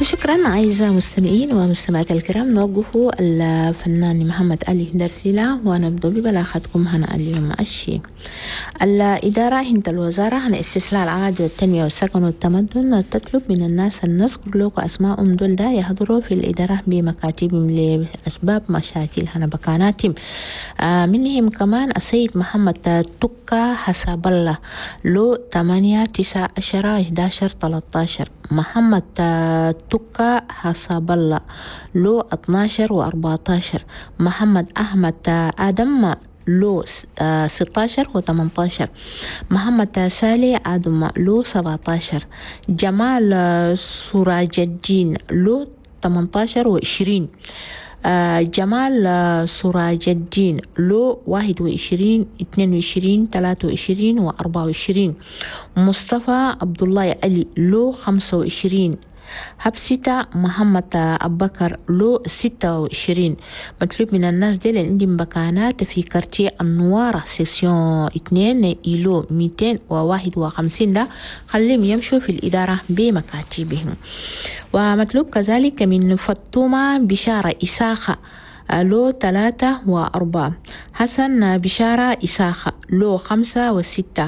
شكرا أعزائي المستمعين ومستمعات الكرام. نوقف الفنان محمد علي درسيلة ونبدأ ببلاغتكم هنا اليوم الشيء. الإدارة هند الوزارة عن استصلاح العادي والتنمية والسكن والتمدن تطلب من الناس النذكر لوك أسماءهم دول دا يحضروا في الإدارة بمكاتبهم لأسباب مشاكل هنا بكاناتهم. منهم كمان السيد محمد تكا حسب الله لو 8 9 10 11 13، محمد تكا حسب الله لو 12 و14، محمد أحمد آدم لو 16 و18، محمد سالي آدم لو 17، جمال سراج الدين لو 18 و20، جمال سراج الدين لو 21 22 23 و24، مصطفى عبد الله علي لو 25، حبسيتا محمد أبكر لو 26. مطلوب من الناس دي اللي عندهم بكانات في quartier النوارة section 2 îlot 251 ده خليهم يمشوا في الإدارة بمكاتبهم. ومطلوب كذلك من فطومة بشارة إساخة لو 3 و4، حسن بشارة إساخة لو 5 و6،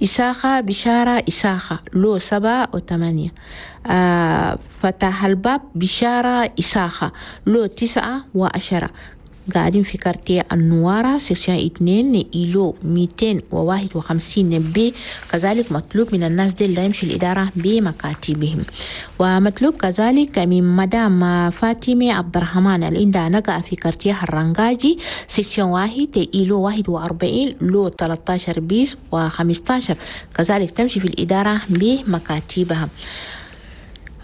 إساخة بشارة إساخة لو 7 و8، فتح الباب بشارة إساخة لو 9 و10. قاعدين في quartier النوارة section 2 îlot 251 B. كذلك مطلوب من الناس دي اللي يمشي الإدارة بمكاتبهم. ومطلوب كذلك من مدام فاطمة عبد الرحمن اللي عندها نقع في quartier الرنجاجي section 1 îlot 41 lot 13 bis و15، كذلك تمشي في الإدارة بمكاتبها.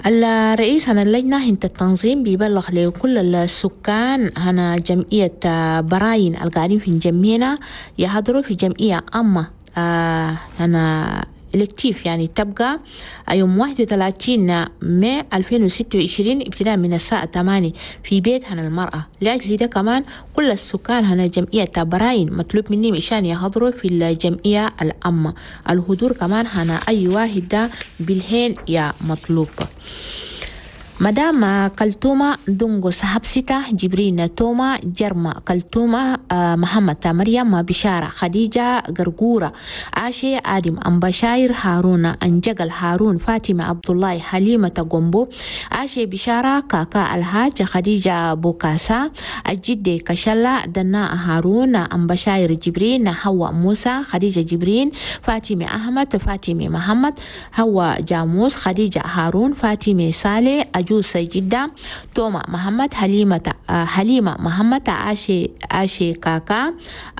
الرئيس هنا اللجنة هنت التنظيم بيبلغ لكل السكان هنا جمعية براين القاعدين في جمينا يحضروا في جمعية عامة هنا élective، يعني تبقى يوم 31 ماي 2026 ابتداء من الساعة 8 في بيت هنا المرأة. لأجل ده كمان كل السكان هنا جمعية براين مطلوب مني مشان يحضروا في الجمعية العامة. الحضور كمان هنا أي واحد ده بالهين يا مطلوب. مدام كلتومة دونغو صاحب ستة جبرين توما جرما كلتومة محمد مريم بشارة خديجة قرقورة عاشي آدم أم بشاير هارون أنجقل هارون فاطمة عبد الله حليمة قومبو عاشي بشارة كاكا الحاج خديجة بوكاسا الجدة كشلا دنا هارون أم بشاير جبرين حواء موسى خديجة جبرين فاطمة أحمد فاطمة محمد حواء جاموس خديجة هارون فاطمة صالح أجوس جدة توما محمد حليمة محمد عاشي كاكا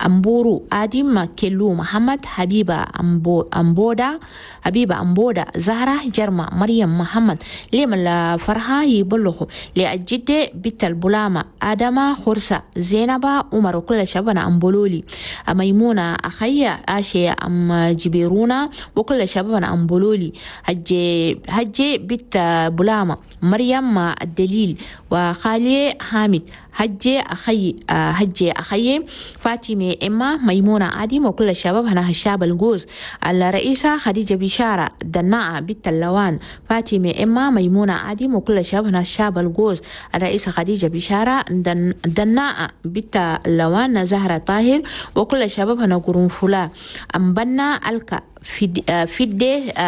أمبورو آدم كيلو محمد حبيبة أمبودا حبيبة أمبودا زهرة جرمة مريم محمد ليم الفرحة يبلغوا لأجدة بنت البلامة آدم خرسة زينب عمر وكل شبابنا أمبولولي ميمونة أخي عاشي أم جبيرونا وكل شبابنا أمبولولي هجي بنت بلامة مريم الدليل وخالي حامد هجي أخي فاطمة إما ميمونة عديم وكل الشباب هنا هشاب الجوز الرئيسة خديجة بشارة دناعة بنت اللوان فاطمة إما ميمونة عديم وكل الشباب هنا هشاب الجوز الرئيسة خديجة بشارة دناعة بنت اللوان زهرة طاهر وكل الشباب هنا قرنفلا أمبنا الكا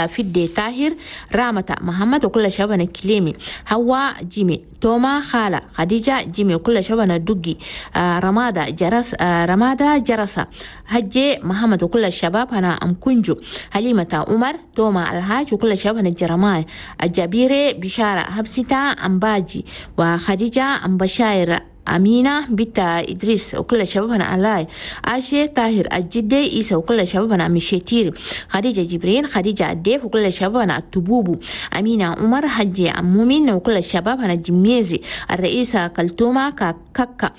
فدي طاهر رامة محمد وكل شبابنا كليمي هوا جيمي توما خالة خديجة جيمي وكل شبابنا دقي رمادة جرس رمادة جرسة هجي محمد وكل الشباب هنا أم كنجو حليمة عمر توما الحاج وكل شبابنا الجرماي الجبيرة بشارة هبسيتا أمباجي وخديجة أم بشاير أمينة بنت إدريس وكل شبابنا علاي عاشي طاهر الجدة إيسا وكل شبابنا مشيتير خديجة جبرين خديجة الديف وكل شبابنا التبوبو أمينة عمر حجي أمومين وكل شبابنا الجميزي الرئيسة كلتومة كاكا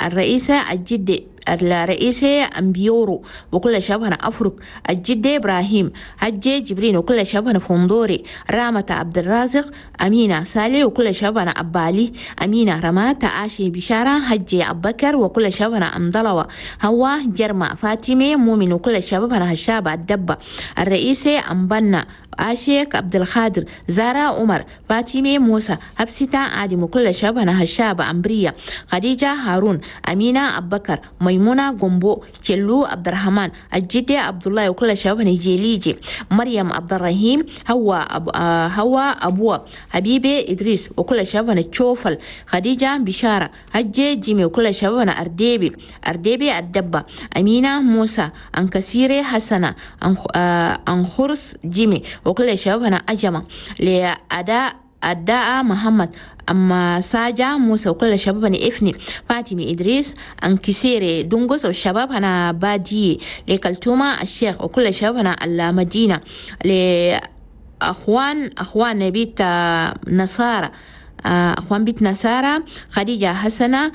الرئيسة الجدة الرئيسة أمبيورو وكل شبابنا أفرق الجدة إبراهيم حجي جبرين وكل شبابنا فندوري رامة عبد الرازق أمينة سالي وكل شبابنا أبالي أمينة رمات عاشي بشارة حجي أبكر وكل شبابنا أمضلوة هوا جرمة فاطمة مؤمن وكل شبابنا هشابة الدبة الرئيسة أمبنا عاشيك عبد الخادر، زارا عمر، فاطمة موسى، حبسيتا آدم وكل شبابنا هشابة أمبرية، خديجة هارون، أمينة أبكر، ميمونة جومبو، كيلو عبد الرحمن، الجدة عبد الله وكل شبابنا جيليجي، مريم عبد الرحيم، هوا أبوه، حبيبي إدريس وكل شبابنا تشوفل، خديجة بشارة، هجي جيمي وكل شبابنا أرديبي الدبة، أمينة موسى، أنكسيري حسنة، أنخرس جيمي وكل شبابنا أجمع لأداء أداء محمد، أما ساجا موسى وكل شبابنا إفني، فاطمة إدريس، أنكسيري دونغوس والشباب هنا بادي، لكلتوما الشيخ وكل شبابنا المدينة، لأخوان بيت نصارى، أخوان بيت نصارى، خديجة حسنة،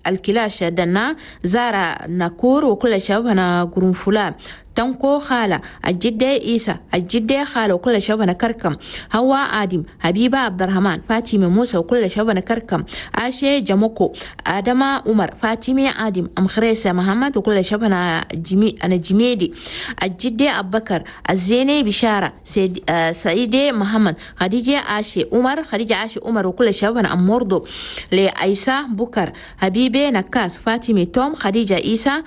الكلاش دنا، زارا ناكور وكل شبابنا قرنفلا، تنكو خالة، الجدة إيسا، الجدة خالة وكل شبابنا كركم، هوا آدم، حبيبة عبد الرحمن، فاطمة موسى وكل شبابنا كركم، عاشي جموكو، آدم عمر، فاطمة آدم، أم خريسة محمد وكل شبابنا أنا جميدي، الجدة أبو بكر، الزينة بشارة، سعيدة محمد، خديجة عاشي عمر، خديجة عاشي عمر وكل شبابنا أم مرضو، لأيسا بكر، حبيبة نكاس، فاطمة توم، خديجة إيسا،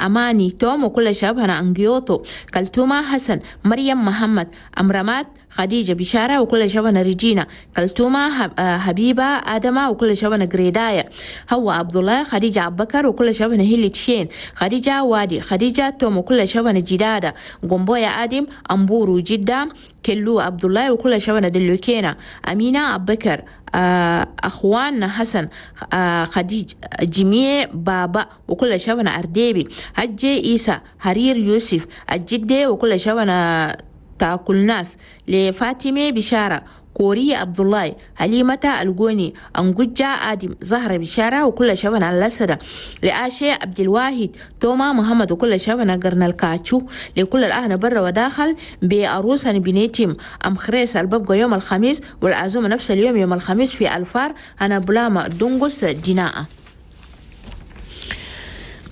أماني توم وكل شبابنا أنجيوتو، كلتوما حسن، مريم محمد، أمرمات، خديجة بشارة وكل شبابنا ريجينا، كلتوما حبيبة آدمة وكل شبابنا جريدايا، هو عبد الله، خديجة أبو بكر وكل شبابنا هيلي تشين، خديجة وادي، خديجة توم وكل شبابنا جدادة، قنبويا آدم، أمبورو جدة، كلو عبد الله وكل شبابنا دلوكينا، أمينة أبو بكر، أخوان حسن، خديج جميع بابا وكل شبابنا أرديبي، هجي إيسا، حرير يوسف، الجدة وكل شبابنا تاكل ناس، لفاطمة بشارة، كوري عبد الله، حليمة الجوني، أنجوجة آدم، زهرة بشارة وكل شبابنا الأسدة، لآشي عبد الواحد، توما محمد وكل شبابنا قرن الكاتشو، لكل الأهل برا وداخل بعروسا بنيتم، أم خريس الببقى يوم الخميس والعزومة نفس اليوم يوم الخميس في الفار أنا بلاما دونغوس جناء.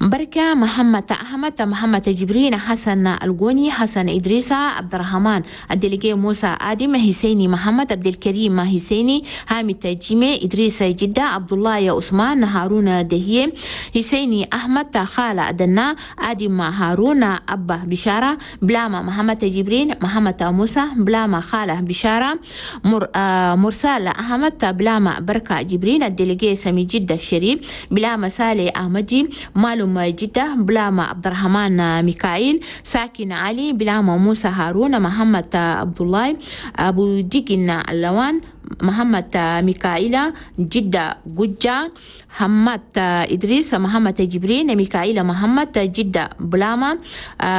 بركة محمد أحمد، محمد جبرين، حسن الجوني، حسن إدريسة، عبد الرحمن الدليجي، موسى آدم، حسيني محمد، عبد الكريم حسيني، حامد جيمي، إدريس جدة، عبد الله عثمان، هارون دهية، حسيني أحمد، خالة دنا، آدم هارون، أبا بشارة، بلاما محمد جبرين، محمد موسى، بلاما خالة بشارة، مرسال أحمد، بلاما بركة جبرين، الدليجي سمي جدة الشريف، بلاما سالي أحمدي، مالو جدة، بلاما عبد الرحمن ميكائيل، ساكن علي، بلاما موسى هارون، محمد عبد الله، أبو ديكن اللوان، محمد ميكائيل، جدة جوجا، محمد إدريس، محمد جبرين، ميكائيل محمد، جدة بلاما،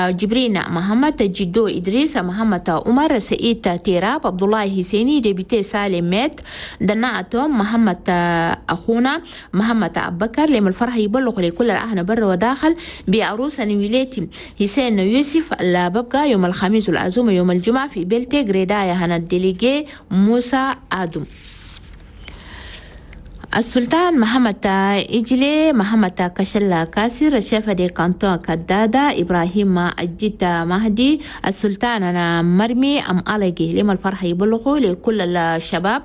جبرين محمد، جدو إدريس، محمد عمر، سعيد تيراب، عبد الله حسيني، député سالم مات، دناعتهم، محمد أخونا، محمد أبو بكر. لما الفرح يبلغ لكل الأهل بر وداخل بعروس نويلتي حسين يوسف لا ببقى يوم الخميس والعزومة يوم الجمعة في بلتي غريدايا هنا ال délégué موسى آدم. السلطان محمد إجلي، محمد كشلا كاسر، chef de canton كدادة، إبراهيم الجد مهدي، السلطان أنا مرمي أم ألقي. لما الفرح يبلغوا لكل الشباب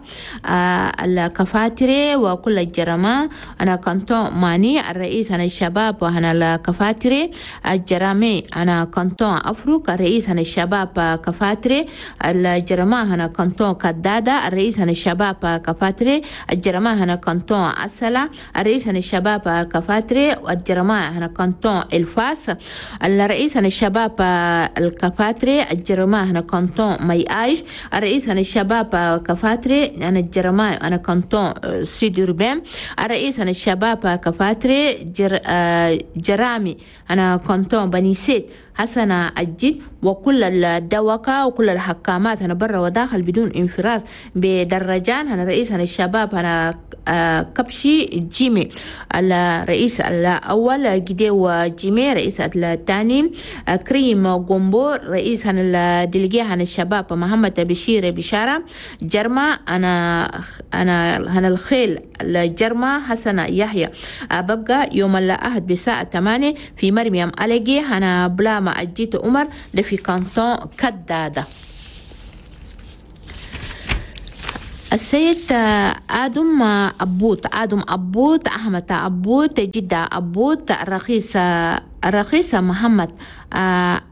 الكفاتري وكل الجرماء أنا canton ماني، الرئيس أنا الشباب وأنا الكفاتري الجرامي، أنا canton أفروك، الرئيس أنا الشباب كفاتري الجرماء، أنا canton كدادة، الرئيس أنا الشباب كفاتري الجرماء، أنا canton أسلا، الرئيس عن الشباب كفاتري والجرماء هنا canton الفاس، الرئيس عن الشباب الكفاتري الجرماء هنا canton مي آيش، الرئيس عن الشباب كفاتري أنا الجرماء أنا canton Sud Urbain، الرئيس عن الشباب كفاتري جرامي أنا canton بني سيد حسن الجد، وكل الدوكة وكل الحكامات أنا برا وداخل بدون انفراز بدرجان. أنا رئيس أنا الشباب أنا كبشي جيمي، الرئيس الأول جديو جيمي، رئيس الثاني كريم غومبو، رئيس عن ال délégué عن الشباب محمد بشير بشارة جرما، أنا الخيل الجرما حسن يحيى. ببقى يوم الأحد بساعة 8 في مريم ألقي أنا بلا بلاما الجيت عمر ده في كانتون كدادة. السيد آدم أبوت، أحمد أبوت، جدة أبوت، الرخيصة محمد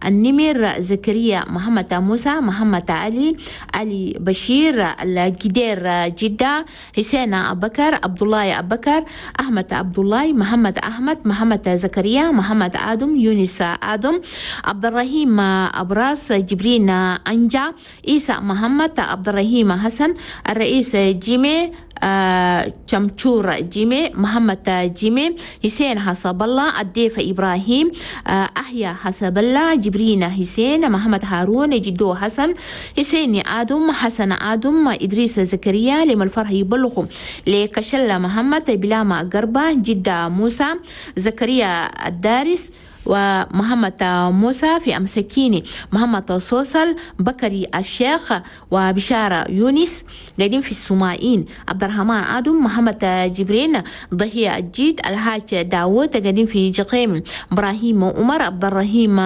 النمر، زكريا محمد، موسى محمد، علي بشير الجدير جدة، حسين أبكر، عبد الله أبكر، أحمد عبد الله، محمد أحمد، محمد زكريا، محمد آدم، يونس آدم، عبد الرحيم أبراس، جبرين أنجا، عيسى محمد، عبد الرحيم حسن، الرئيس جيمي شمشور جيمي، محمد جيمي، حسين حسب الله، الضيف إبراهيم، أحيا حسب الله، جبرين حسين، محمد هارون، جدو حسن، حسين آدم، حسن آدم، إدريس زكريا، لما الفرح يبلغ لكشلة محمد، بلاما قربة، جدة موسى، زكريا الدارس، ومحمد موسى في أمسكيني، محمد صوصل، بكري الشيخ، وبشارة يونس قاعدين في السمائين، عبد الرحمن آدم، محمد جبرين، ضحية الجيد، الحاج داوود قاعدين في جقيم، إبراهيم عمر، عبد الرحيم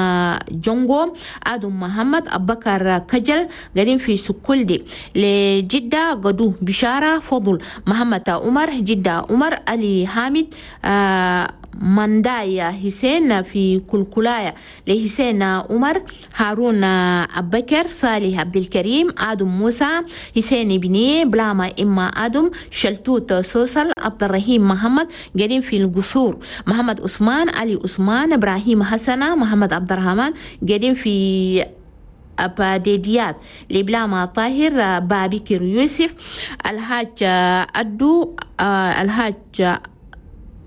جونغو، آدم محمد، أبكر كجل قاعدين في سكولدي، لجدة قدو، بشارة فضل، محمد عمر، جدة عمر، علي حامد، مندايا حسين في كلكلايا، لحسين عمر، هارون أبكر، صالح عبد الكريم، آدم موسى، حسين بني، بلاما إما آدم، شلتوت سوسل، عبد الرحيم محمد قاعدين في القصور، محمد عثمان، علي عثمان، إبراهيم حسنة، محمد عبد الرحمن قاعدين في أباديديات، لبلاما طاهر، بابكر يوسف، الحاج أدو،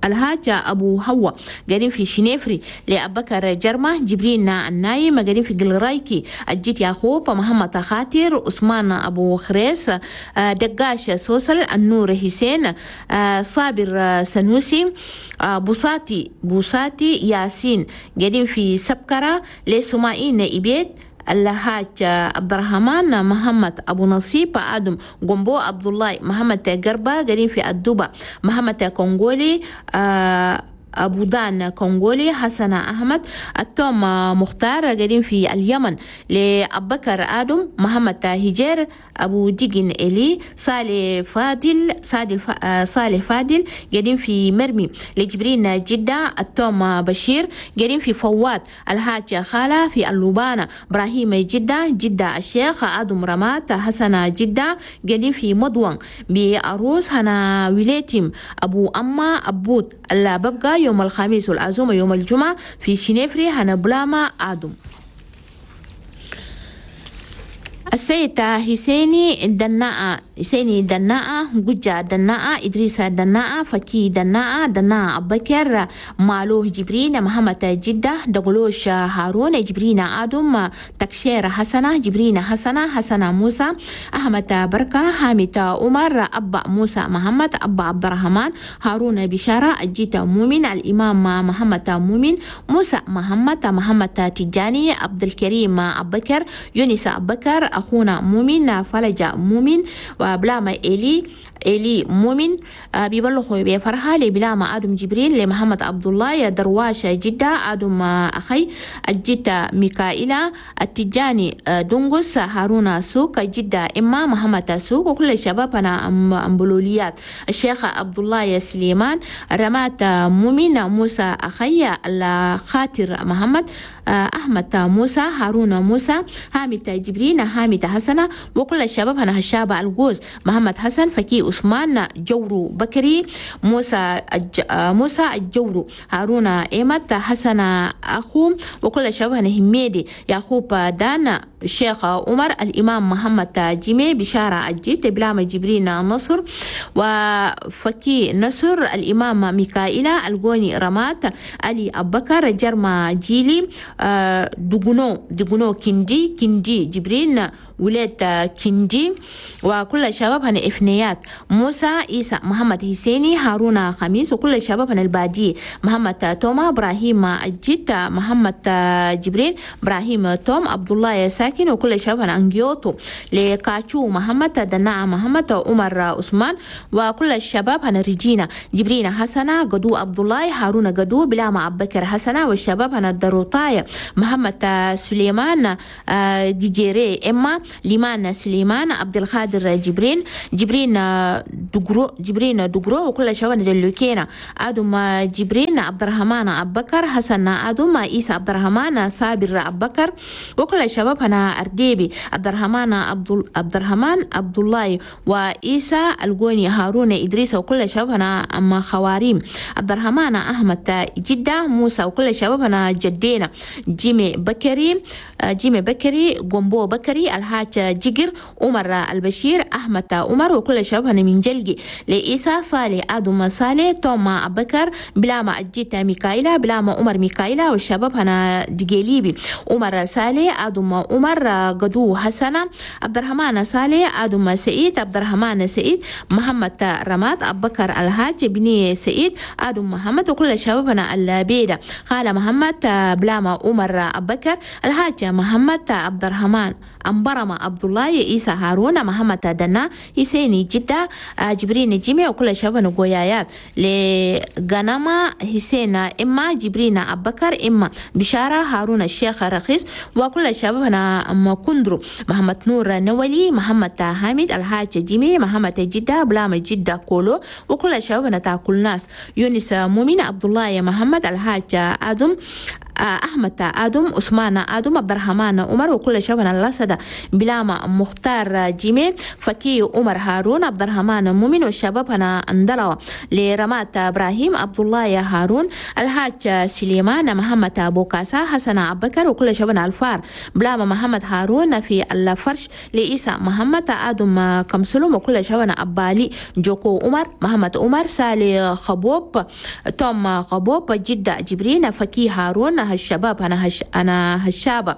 الحاج أبو هوا قاعدين في شنيفري، لأبكر جرمة، جبرين النايم قاعدين في قلرايكي، الجيت يعقوب، محمد خاطر، عثمان أبو خريس، دقاش سوسل، النور حسين، صابر سنوسي، بوساتي ياسين قاعدين في سبكرة، لسمائين إبيت، الحاج عبد الرحمن، محمد أبو نصيب، آدم جنبو، عبد الله، محمد قربة قاعدين في الدوبة، محمد كونغولي، أبو دان كونغولي، حسن أحمد، التوم مختار قاعدين في اليمن، لأبكر آدم، محمد هجير، أبو ديجن إلي، صالح فادل قاعدين في مرمي، لجبرين جدة، التوم بشير قاعدين في فواد، الحاج خالة في اللوبانة، إبراهيم جدة، جدة الشيخ، آدم رمات، حسن جدة قاعدين في مضوان، بأروس هنا ويليتم، أبو أما أبوت اللاببقى يوم الخميس والعزومة يوم الجمعة في شنيفري هنا بلاما آدم. السيد حسيني دناء، حسيني دناء، جوجا دناء، إدريس دناء، فكي دناء، دناء أبكر، مالوه جبرين، محمد جدة، دغلوش هارون، جبرين آدم، تكشير حسنة، جبرين حسنة، حسنة موسى، أحمد بركة، حامد عمر، أبا موسى محمد، أبا عبد الرحمن، هارون بشارة، الجيت مؤمن، الإمام محمد مؤمن، موسى محمد، محمد تجاني، عبد الكريم أبكر، يونس أبكر، أخونا مؤمن، فلج مؤمن، وبلاما إلي مؤمن، بيبلغوا بفرحة لبلاما آدم جبريل، لمحمد عبد الله، درواش جدة، آدم أخي، الجدة ميكائيلا، التجاني دونغوس، هارون سوق، جدة إما محمد سوق، وكل شبابنا أمبلوليات، الشيخ عبد الله سليمان، رمات مؤمن، موسى أخي، الخاطر محمد، أحمد موسى، هارون موسى، حامد جبرين، حامد حسنة، وكل الشباب هنا هشابة الجوز، محمد حسن، فكي عثمان، جورو بكري، موسى الجورو، هارون إيمت، حسن أخو، وكل الشباب هنا هميدي، يعقوب دان، الشيخ عمر، الإمام محمد جيمي، بشارة الجيت، بلام جبرين نصر، وفكي نصر، الإمام ميكائيلا، الجوني رمات، علي أبكر، جرما جيلي، دغنو كندي جبرين، ولاد كندي، وكل الشباب هن إفنيات، موسى عيسى، محمد حسيني، هارون خميس، وكل الشباب هن البادي، محمد توما، إبراهيم الجيت، محمد جبرين، إبراهيم توم، عبد الله ساكن. ساكن وكل شباب هنا أنجيوتو لكاتشو محمد دناء محمد عمر عثمان وكل الشباب هنا رجينا جبرينا حسنة قدو عبد الله هارون قدو بلاما أبكر حسنة والشباب هنا الدروطاية محمد سليمان جيري إما ليمان سليمان عبد القادر جبرين جبرين دغرو جبرين دغرو وكل شباب دلوكينا آدم جبرين عبد الرحمن أبكر حسن آدم عيسى عبد الرحمن صابر أبكر وكل الشباب هنا أرديبي عبد الرحمن عبد الرحمن عبد الله وعيسى الجوني هارون إدريس وكل الشباب هنا أما خواريم عبد الرحمن أحمد جدة موسى وكل الشباب هنا جدينا جيمي بكري جيمي بكري جومبو بكري الحاج جيجر عمر البشير أحمد عمر وكل الشباب هنا من جلجي لإيسى صالح آدم صالح توما أبكر بلاما أجيتا ميكايلا بلاما عمر ميكايلا والشباب هنا دجيليبي عمر صالح آدم عمر قدو حسنة عبد الرحمن صالح آدم سعيد عبد الرحمن سعيد محمد رماد أبكر الحاج بني سعيد آدم محمد وكل الشباب هنا البيدة خالة محمد بلاما عمر أبكر الحاج محمد عبد الرحمن أمبرما عبد الله عيسى هارون محمد دنا حسيني جدة جبرين جيمي وكل شباب قويايات لغنما حسين إما جبرين أبكر إما بشارة هارون الشيخ رخيص وكل شباب هنا أم كندرو محمد نور نولي محمد حامد الحاج جيمي محمد جدة بلام جدة كولو وكل شباب هنا تاكل ناس يونس مؤمن عبد الله محمد الحاج آدم أحمد آدم عثمان آدم عبد الرحمن عمر وكل شباب اللسدة بلاما مختار جيمي فكي عمر هارون عبد الرحمن مؤمن والشباب هنا اندلوا لرمات إبراهيم عبد الله هارون الحاج سليمان محمد أبو كاسا حسن أبكر وكل شباب الفار بلاما محمد هارون في الفرش لإيسى محمد آدم كمسلوم وكل شباب أبالي جوكو عمر محمد عمر سالي خبوب توم خبوب جدة جبرين فكي هارون الشباب أنا هشابة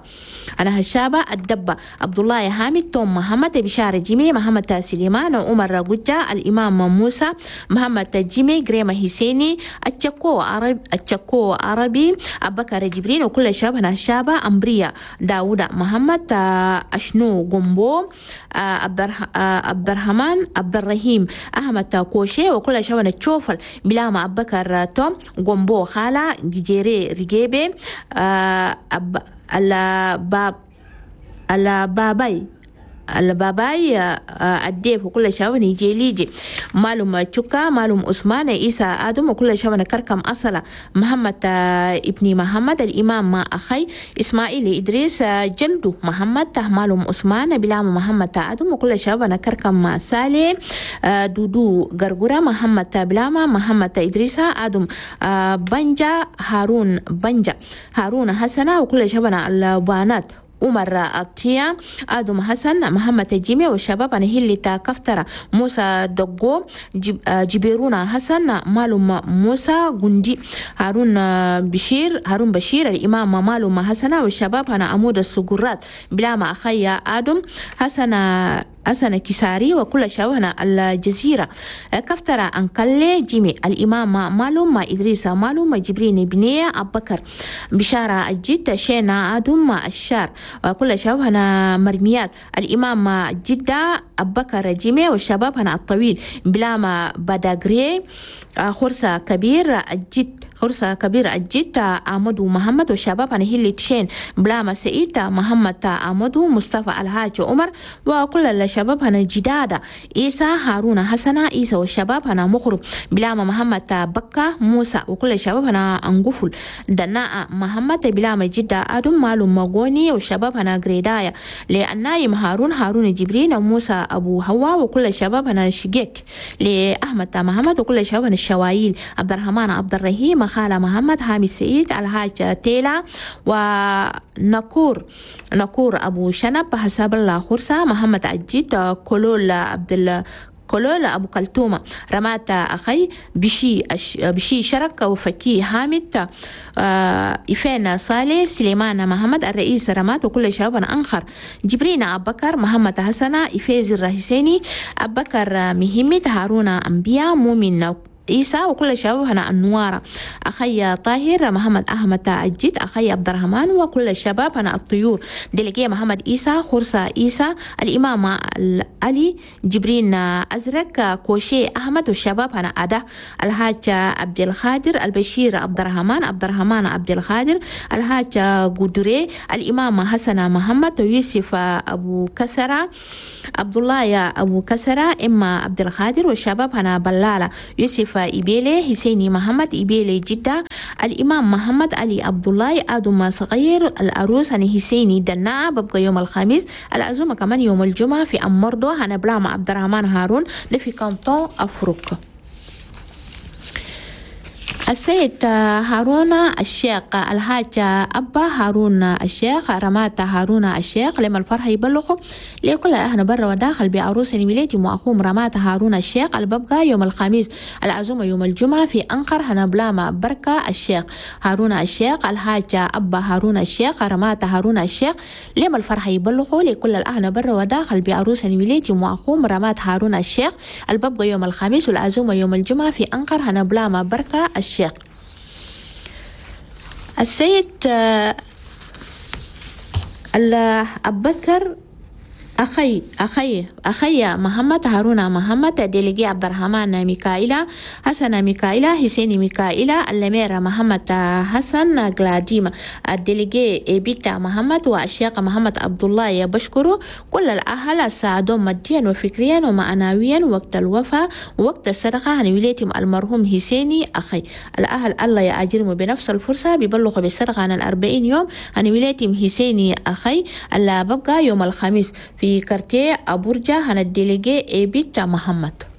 أنا هشابة الدبة عبد الله حامد توم محمد بشارة جيمي محمد سليمان عمر جوجا الإمام موسى محمد جيمي جريمة حسيني التشكو عرب التشكو عربي أبكر جبرين وكل الشباب أنا هشابة أمبريا داوود محمد أشنو جومبو عبد الرحمن عبد الرحيم أحمد كوشي وكل الشباب تشوفل بلاما أبكر توم جومبو خالة جيري رجيبي الباباي الباباي الديف وكل شاون يجي مالوم تشوكا مالوم عثمان عيسى آدم وكل شاون كركم أصلا محمد ابن محمد الإمام ما أخي إسماعيل إدريس جلدو محمد مالوم عثمان بلام محمد آدم وكل شاون كركم سالي دودو غرغرة محمد بلاما محمد إدريس آدم بنجا هارون بنجا هارون حسنة وكل شاون البانات عمر أطيا آدم حسن محمد جيمي والشباب أنا هي كفترة موسى دقو جبيرونا حسن مالوم موسى غندي هارون بشير هارون بشير الإمام مالوم حسن والشباب أنا عمود السجرات بلا ما أخي آدم حسن حسن كساري وكل شبابنا الجزيرة كفترة أنكلي جيمي الإمام مالوم إدريس مالوم جبرين بنية أبكر بشارة الجد شينا آدم الشار وكل شبابنا مرميات الإمام جدة أبكر جيمي والشباب هنا الطويل بلاما بداغري خرسة كبير الجد خرسة كبير الجد أحمد محمد والشباب هنا هيلي تشين بلاما سعيد محمد أحمد مصطفى الحاج عمر وكل الشباب هنا جدادة عيسى هارون حسنة عيسى والشباب هنا مخرب بلاما محمد بكة موسى وكل الشباب هنا أنقفل دناء محمد بلاما جدة آدم مالو مغوني والشباب هنا غريدايا للنايم هارون هارون جبرين موسى أبو هوا وكل الشباب هنا شقيك لأحمد محمد وكل الشباب هنا الشوايل عبد الرحمن عبد الرحيم خالة محمد حامد سعيد الحاج تيلا ونكور نكور أبو شنب حساب الله خرسة محمد عجيد كلول عبد كلول أبو كلتومة رمات أخي بشي بشي شرك وفكي حامد إفان صالح سليمان محمد الرئيس رمات وكل شباب أنخر جبرين أبكر محمد حسن إفاز الرهسيني أبكر مهمت هارون أنبياء مؤمن عيسى وكل الشباب هنا النوارة، أخي طاهر محمد أحمد الجد، أخي عبد الرحمن وكل الشباب هنا الطيور، délégué محمد عيسى، خرسة عيسى، الإمام علي جبرين أزرق، كوشي أحمد والشباب هنا أدا، الحاج عبد الخادر، البشير عبد الرحمن، عبد الرحمن عبد الخادر، الحاج قدري، الإمام حسن محمد، يوسف أبو كسرة، عبد الله أبو كسرة، إما عبد الخادر والشباب هنا بلالة، يوسف إبيلي، حسيني محمد إبيلي جدة، الإمام محمد علي عبد الله آدم صغير، الأروس هني حسيني دناء ببقى يوم الخميس، العزومة كمان يوم الجمعة في أمردو هنا بلاما عبد الرحمن هارون في كانتون أفريقيا. السيد هارون الشيخ، الحاج أبا هارون الشيخ، رمات هارون الشيخ، لما الفرح يبلغ لكل أهل برا وداخل بعروس ميلادي وأخوهم رمات هارون الشيخ الببقى يوم الخميس، العزومة يوم الجمعة في أنقر هنبلاما بركة الشيخ هارون الشيخ، الحاج أبا هارون الشيخ، رمات هارون الشيخ، لما الفرح يبلغ لكل الأهل برا وداخل بعروس ميلادي وأخوهم رمات هارون الشيخ الببقى يوم الخميس، والعزومة يوم الجمعة في أنقر هنبلاما بركة الشيخ. السيد أبكر أخي أخي أخي محمد هارون محمد، délégué عبد الرحمن ميكائيلا، حسن ميكائيلا، حسين ميكائيلا، الأمير محمد حسن غلاديما، ال délégué بيتا محمد والشيخ محمد عبد الله بشكره كل الأهل ساعدوا ماديا وفكريا ومعنويا وقت الوفاة ووقت الصدقة عن وليتهم المرحوم حسيني أخي. الأهل الله يأجرهم بنفس الفرصة بيبلغوا بالصدقة عن 40 يوم عن وليتهم حسيني أخي اللي ببقى يوم الخميس في quartier أبورجا هنا ال délégué إيبيتا محمد.